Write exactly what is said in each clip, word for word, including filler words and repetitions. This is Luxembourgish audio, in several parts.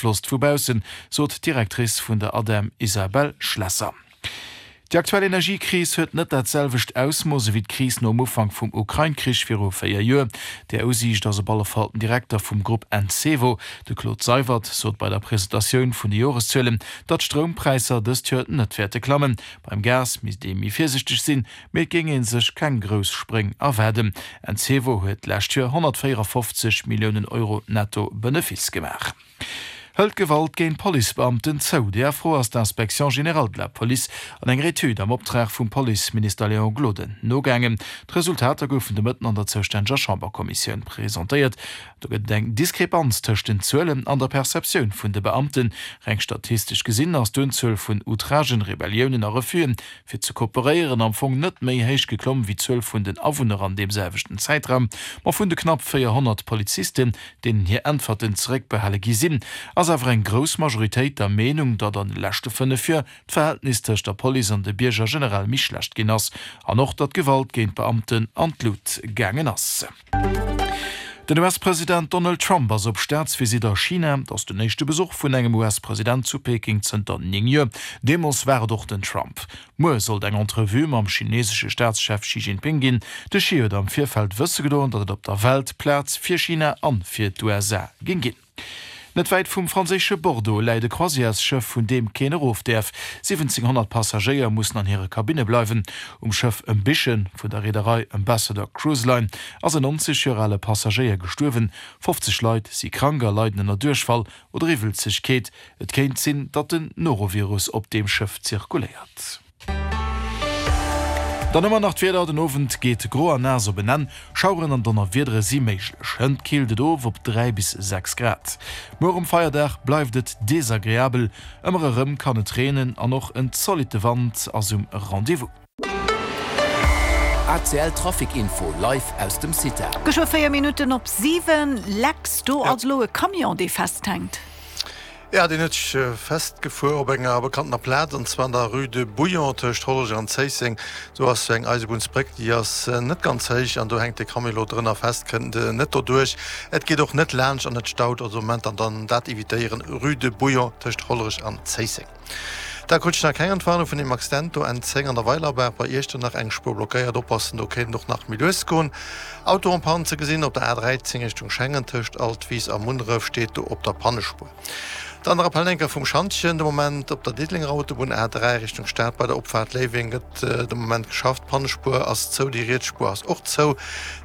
beaflosst vu baussen, sot d'Directrice vun der ADEM Isabelle Schlesser. Déi aktuell Energiekris huet net dat selwecht Ausmooss ewéi d'Kris nom Ufank vum Ukrain-Krich viru véier Joer. Där Usiicht ass op alle Fall den Direkter vum Grupp Encevo. De Claude Seywert sot bei der Presentatioun vun de Joreszuelen, datt d'Stroumpräisser dëst Joer net wäerte klammen. Beim Gas misst ee méi virsiichteg sinn, mee et géing ee sech keng grouss Spréng erwaarden. Encevo huet d'lescht Joer honnertvéierafofzeg Milliounen Euro netto Benefice gemaach. Hëlt d'Gewalt géint Policebeamten zou? Där Fro ass d'Inspection générale de la Police an enger Etüd am Optrag vum Policeminister Léon Gloden nogaangen. D'Resultater goufen de Mëtten an der zoustänneger Chamberkommissioun presentéiert. Do gëtt et eng Diskrepanz tëscht den Zuelen an der Perceptioun vun de Beamten. Reng statistesch gesinn ass d'Unzuel vun Outragen, Rebelliounen a Refusen, fir ze kooperéieren, am Fong net méi héich geklomm wéi d'Zuel vun den Awunner an deem selwechten Zäitraum. Ma vun de knapp véierhonnert Polizisten, deenen hir Äntwerten zeréckbehale gi sinn, ass awer eng grouss Majoritéit der Meenung, datt an de leschte fënnef Joer d'Verhältnis tëscht der Police an de Bierger generell méi schlecht ginn ass an och datt d'Gewalt géint Beamten an d'Lut gaangen ass. Den U S-President Donald Trump ass op Staatsvisitt a China. Et ass den éischte Besuch vun engem U S-President zu Peking zënter néng Joer. Deemools war et och den Trump. Muer sollt eng Entrevue mam chinesesche Staatschef Xi Jinping ginn. De Xi huet am Virfeld wësse gedoen, datt et op der Welt Plaz fir China an fir d'U S A géing ginn. Net wäit vum franséische Bordeaux läit e Croisièresschëff, vun deem keen erof däerf. siwwenzénghonnert Passagéier mussen an hire Kabinne bleiwen. Um Schëff Ambition vun der Reederei Ambassador Cruise Line ass en nonzeg Joer ale Passagéier gestuerwen. fofzeg Leit si krank a leiden ënner Duerchfall oder Iwwelzegkeet. Et kéint sinn, datt den Norovirus op deem Schëff zirkuléiert. Dann ëmmer nach d'Wieder, Den Owend geet gro an naass op en Enn, Schaueren an Donnerwiedere si méiglech. Hënt killt et of op dräi bis sechs Grad. Muer um Feierdag bleift et desagreabel, ëmmer erëm kann et reenen an och en zolitte Wand ass um Rendez-vous. A C L Trafic Info live aus dem CITA. Geschwë véier Minutten op siwen. Lex, do ass elo e Camion, dee festhänkt. Ja, deen huet sech festgefuer op enger bekanntener Plaz, an zwar an der Rue de Bouillon tëscht Hollerech an Zéisseng. Do ass sou eng Eisebunnsbréck, déi ass net ganz héich an do hänkt de Camion elo drënner fest, kënnt net doduerch. Et geet och net laanscht an et staut also am Moment an dann dat evitéieren, Rue de Bouillon tëscht Hollerech an Zéisseng. Da krut ech nach keng Entwarnung vun deem Accident do, N zéng an der Weilerbaach bei Iechternach, eng Spuer blockéiert, oppassen, do kéint et och nach méi lues goen. Auto en panne ze gesinn op der A dräizéng Richtung Schengen tëscht Altwis a Munneref, steet do op der Pannespuer. Dann de Rappel enker vum Schantjen, de Moment op der Diddelenger Autobunn A dräi Richtung Stad bei der Opfaart Léiweng gëtt de Moment geschafft, d'Pannespuer ass zou, déi riets Spuer ass och zou.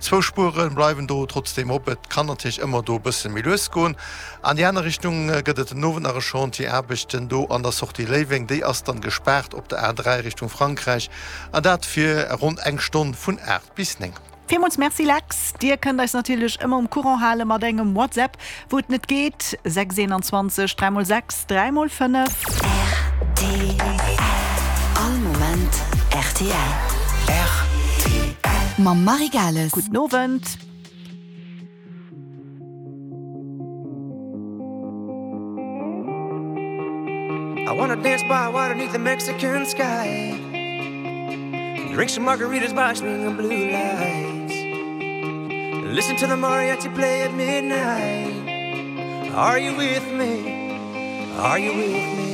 Zwou Spuere bleiwen do trotzdeem op, et kann natierlech ëmmer do e bësse méi lues goen. An déi aner Richtung gëtt et den Owend nach e Chantier, Aarbechten do an der Sortie Léiweng, déi ass dann gespaart op der A dräi Richtung Frankräich an dat fir ronn eng Stonn vun aacht bis néng. Villmools Merci Lex. Dir kënnt eis natierlech ëmmer um Courant hale mat engem WhatsApp, wou et net geet, sechs eenanzwanzeg dräi mol sechs dräi mol fënnef. R T L. All Moment R T L. R T L. Mam Marie Gales. Gudden Owend. I wanna dance by water 'neath the Mexican sky. Drink some margaritas by swinging blue lights. Listen to the mariachi play at midnight. Are you with me? Are you with me?